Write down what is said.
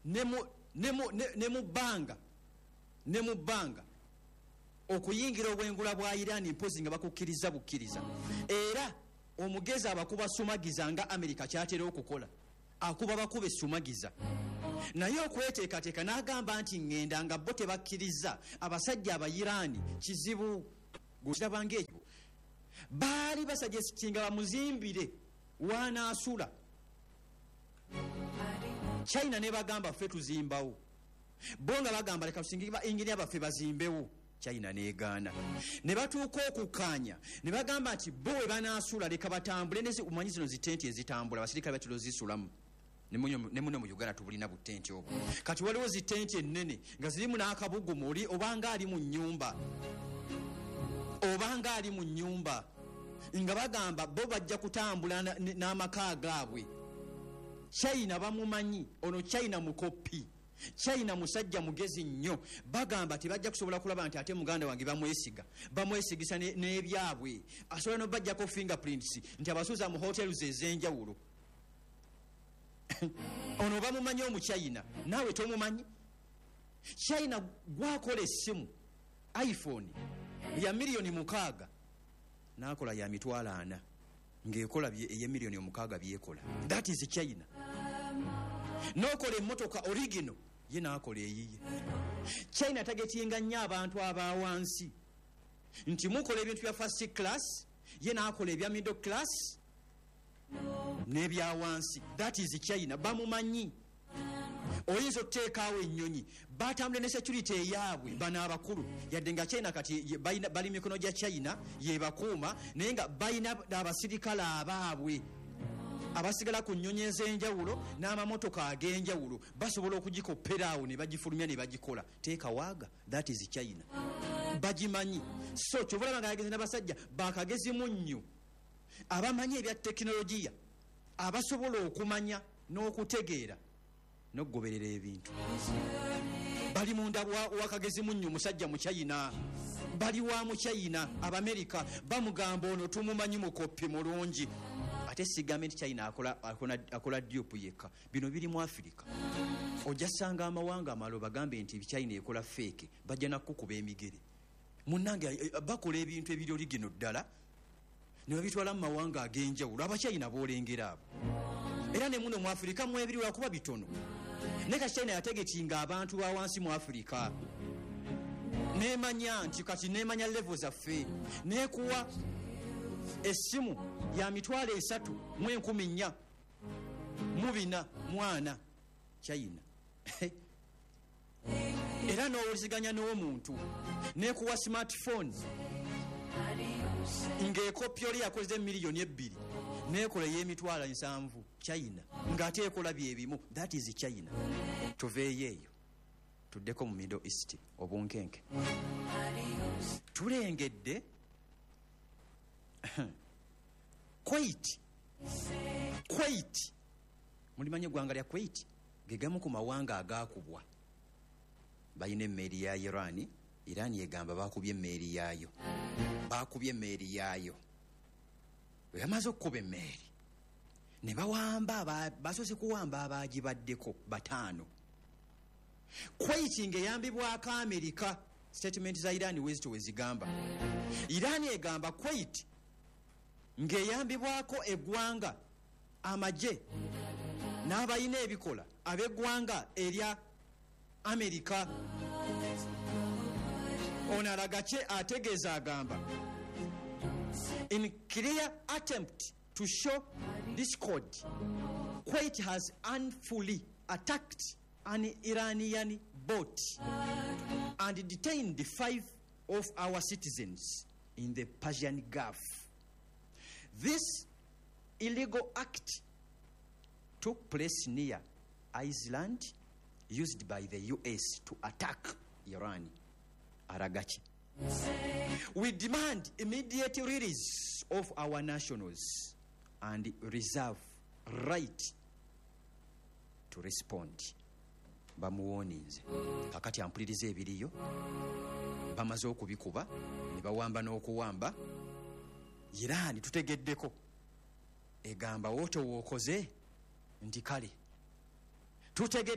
Ne mu bbanga, ne mu bbanga okuyingira obwengula bwa Iran, mpozi nga bakukkiriza bukkiriza. Era omugezi abakuba sumagiza, nga Amerika kyatera okukola, akuba bakuba esumagiza. Naye okweteekateeka n'agamba nti ŋŋenda nga bo tebakkiriza, abasajja Abairaani kizibu kirabanga ekyo. Baali basuggestinga bamuzimbire wanaasula. China ne bagamba, "Ffe tuzimbawo." Bo nga bagamba, "Leka tusinge ba engineer baffe bazimbewo." China negaana. Ne batuuka okukkaanya ne bagamba nti bo we banaasula, leka batambule. Omanyi zino zitenti ezitambula, abasirikale batera ozisulamu. Ne muno mu Uganda tubulina butenti obwo. Kati waliwo zitenti ennene nga zirimu n'akabugumu, oli obanga ali mu nnyumba, obanga ali mu nnyumba. Nga bagamba bo bajja kutambula n'amaka gaabwe. China bamumanyi ono, China mukopi, China musajja mugezi nnyo. Bagamba tebajja kusobola kulaba nti ate muganda wange bamwesiga, bamwesigisa n'ebyabwe. Asobola nobajjako fingerprints nti abasuuza mu hotels ez'enjawulo. Ono bamumanyi Omuchina, naawe tomumanyi. China gwakola essimu iPhone ya miliyoni 6, nakola ya 40,000 ng'ekola ey'emiliyoni 6 byekola. That is China. Nokola emmotoka original, ye nakola eyiye. China targetinga nnyo abantu abawansi, nti mukola ebintu bya first class, ye nakola ebya middle class n'ebyawansi. That is China, bamumanyi. Oyinza okuteekaawo ennyonyi batambule ne security eyaabwe. Bano abakulu, yadde nga China kati bali mikono gya China yebakuuma, naye nga balina abasirikale abaabwe abasigala ku nnyonyi ez'enjawulo n'amamotoka ag'enjawulo. Basobola okugikoperaawo ne bagifulumya ne bagikola teekawaaga. That is China, bagimanyi. So kyova olaba nga yageze n'abasajja bakagezi munnyo, abamanyi ebya tekinologiya, abasobola okumanya n'okutegeera n'okugoberera ebintu. Bali munda wakagezi munnyo, musajja Muchina, bali wa Muchina. Abamerika bamugamba ono tumumanyi, mukopi mulungi. Ate sigambe nti China akola dupe yekka. Bino biri mu Afirika. Ojja sanga amawanga amalala bagambe nti China ekola fake, bajja nakukuba emigere. Munange, bakola ebintu ebiri original ddala ne babitwala mu mawanga ag'enjawulo. Abachina boolengera abo, era ne muno mu Afirika mwebiri, lwakuba bitono. Naye kati China yatargetinga abantu ba wansi mu Afirika, nemanya nti kati nemanya level zaffe, nekuwa essimu ya 34,440 China, era n'owuliziganya n'omuntu. Nekuwa smartphone ng'ekopi oli yakoze miliyoni 2, nekola ey'emitwalo 70 China, ng'ate ekola byebimu. That is China. Tuveeyo eyo tuddeko mu Middle East. Obunkenke tulengedde Kuwait. Kuwait, mulimanyi eggwanga lya Kuwait, ge gamu ku mawanga agakubwa. Balina emmeeri ya Iran. Iran egamba bakubye emmeeri yaayo, bakubye emmeeri yaayo. Bwe bamaze okukuba emmeeri ne bawamba, basoose kuwamba abagibaddeko bataano. Kuwait ng'eyambibwako Amerika. Statement za Iran wezito wezigamba, Iran egamba Kuwait ng'eyambibwako eggwanga, amagye n'abalina ebikola ab'eggwanga erya Amerika. Ono alaga kye ategeeza, agamba, "In clear attempt to show discord, Kuwait has unfully attacked an Iranian boat and detained five of our citizens in the Persian Gulf. This illegal act took place near island used by the US to attack Iran." Aragachi, "We demand immediate release of our nationals and reserve right to respond." Bamuwoninze. Kakati ampuliriza, ebiriyo bamaze okubikuba ne bawamba n'okuwamba. Iran tutegeddeko egamba wootowookoze nti kale tutegedde.